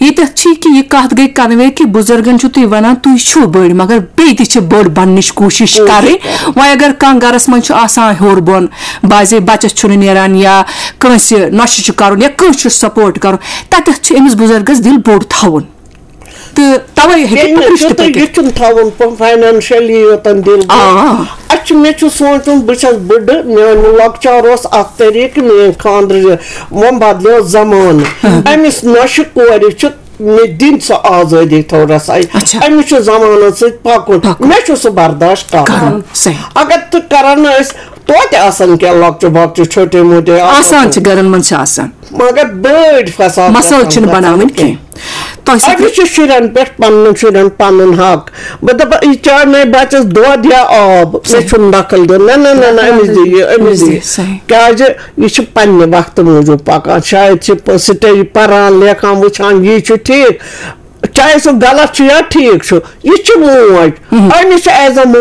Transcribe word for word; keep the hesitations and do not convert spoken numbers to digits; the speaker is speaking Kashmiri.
ییٚتٮ۪تھ چھِ کہِ یہِ کَتھ گٔے convey کہِ بُزرگن چھُو تُہۍ وَنان تُہۍ چھِو بٔڑۍ، مگر بیٚیہِ تہِ چھِ بٔڑ بَننٕچ کوٗشِش کَرٕنۍ۔ وۄنۍ اگر کانٛہہ گَرَس منٛز چھُ آسان ہیوٚر بۄن، بعضے بَچَس چھُنہٕ نیران یا کٲنٛسہِ نۄشہِ چھُ کَرُن یا کٲنٛسہِ چھُ support کَرُن، تَتٮ۪تھ چھُ أمِس بُزرگَس دِل بوٚڑ تھاوُن۔ تہٕ تَوَے ہیٚکہِ ییٚلہِ نہٕ پُرِش تہِ تیُتُے پٔکِتھ۔ یہِ چھُنہٕ تھاوُن پَ-، financially یوتَن دِل بوٚڑ۔ آ۔ اَسہِ چھُ، مےٚ چھُ سونٛچُن، بہٕ چھَس بٕڈٕ، میٛانہِ لۄکچار اوس اَکھ طریٖقہٕ، میٛٲنۍ خانٛدرٕ وۄنۍ بدلیو زمانہٕ۔ أمِس نۄشہِ کورِ چھُ مےٚ دِنۍ سۄ آزٲدی تھوڑا سا۔ اچھا۔ أمِس چھُ زمانَس سۭتۍ پَکُن۔ پَکُن۔ مےٚ چھُ سُہ برداش کَرُن۔ کَرُن، صحیح۔ اگر تہٕ کَران ٲسۍ، توتہِ آسَن کینٛہہ لۄکچہِ بۄکچہِ چھوٹے موٹے آسان۔ آسان چھِ، گَرَن منٛز چھِ آسان۔ مگر بٔڑۍ فساد مسٲیِل گژھن چھِنہٕ گژھن بَناوٕنۍ کینٛہہ۔ کینٛہہ۔ تۄہہِ سۭتۍ أمِس چھُ شُرٮ۪ن پٮ۪ٹھ، پَنُن شُرٮ۪ن پَنُن حق۔ بہٕ دَپہٕ، یہِ چاے مےٚ بَچَس دۄد یا آب، مےٚ صحیح۔ چھُنہٕ دخل دیُن۔ نہ، نہ، نہ، نہ، أمِس دِ یہِ، أمِس دِ یہِ۔ صحیح۔ کیٛازِ یہِ چھِ پنٛنہِ وقتہٕ موٗجوٗب پَکان۔ شاید چھِ پ-، سٹڈی پَران، لیکھان، وٕچھان، یی چھُ ٹھیٖک۔ چاہے سُہ غلط چھُ یا ٹھیٖک چھُ، یہِ چھِ موج۔ أمِس چھِ as a mom